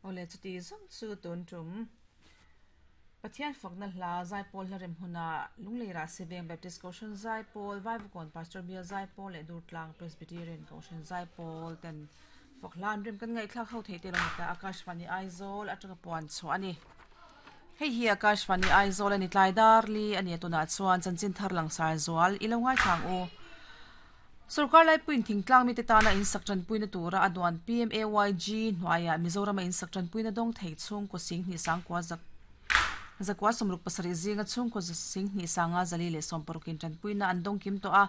Awle chuti zawng chu tun tum Pathian fakna hla Zaipawl hla rem huna Lunglei Rahsiveng Baptist Kohhran Zaipawl, Vaivakawn Pastor Bial Zaipawl leh Durtlang Presbyterian Kohhran Zaipawl ten fak hla an rem kan ngaihthlak ho theih te lo ni ta Akashvani Aizawl atanga puan chhuah a ni. Hei hi Akashvani Aizawl a ni tlai dar li a ni a tunah chuan chanchin thar langsar zual i lo ngaithla ang u. Sorkar laipuiin thingtlang mite tana insak tanpuina tura a duan PMAYG hnuaiah Mizorama insak tanpuina dawng thei chhungkaw singhnih sangkua zak zakua 77 zinga chhungkaw singhnih sanga 460 in tanpuina an dawng kim tawh a.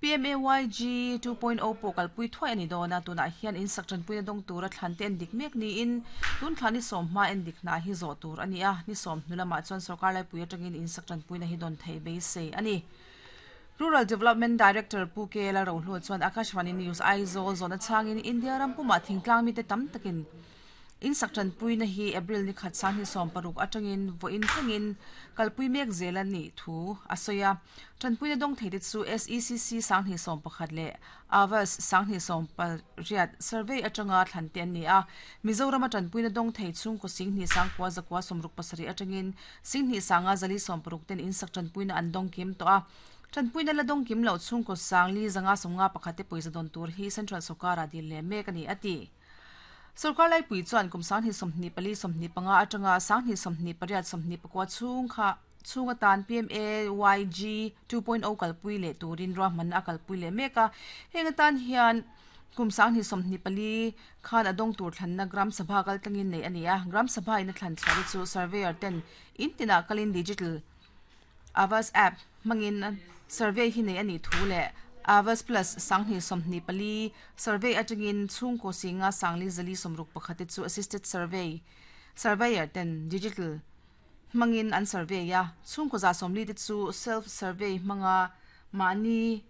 PMAYG 2.0 pawh kalpui thuai a ni dawn a, tunah hian insak tanpuina dawng tura thlan te en dik mek niin tun thla ni sawm hma en dik hna hi zawh tur a ni a, ni sawm hnu lamah chuan sorkar laipui atangin insak tanpuina hi dawn theih beisei a ni. Rural Development Director Pu K Lalrohlu chuan Akashvani News Aizawl zawhna chhangin India ram pumah thingtlang mite tam takin insak tanpuina hi April ni khat 2016 atangin vawiin thlengin kalpui mek zel a nih thu a sawi a. Tanpuina dawng theite chu SECC 2011 leh Aavas 2018 survey atanga thlan te an ni a. Mizorama tanpuina dawng thei chhungkaw 10 sangkua zakua 67 atangin Singhnih sanga 460 ten insak tanpuina an dawng kim tawh a. Tanpuina la dawng kim loh chhungkaw sang li zanga sawmnga pakhat te pawisa dawn tur hi Central sawrkara dil leh mek a ni, a ti. Sawrkar laipui chuan kum 2024 25 atanga 2028 24 chhung kha chhung atan PMAYG 2.0 kalpui leh turin ruahmanna a kalpui leh mek a. Heng atan hian Kum 2024 khan a dawng tur thlanna Gram Sabha kal tlangin neih a ni a, Gram Sabha in a thlan chhuah te chu Surveyor ten in tinah kalin Digital Aavas App hmangin survey hi neih a nih thu leh Aavas Plus 2024 survey atangin chhungkaw singa sangli zali sawmruk pakhat te chu Assisted Survey Surveyor ten Digital hmangin an survey a, chhungkaw za sawmli te chu Self Survey hmanga mahni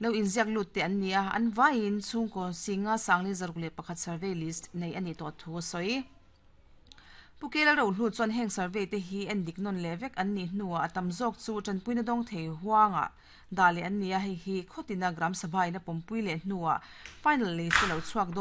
Lo inziak lut te an ni a, an vaiin chhungkaw singa sangli 61 survey list nei a nih tawh thu a sawi. Pu Kela Rohlu chuan heng survey te hi en dik nawn leh vek an nih hnuah a tam zawk chu tanpuina dawng thei huangah dah leh an ni a, hei hi khawtina Gram Sabha in a pawmpui leh hnuah final list te lo chhuak dawn.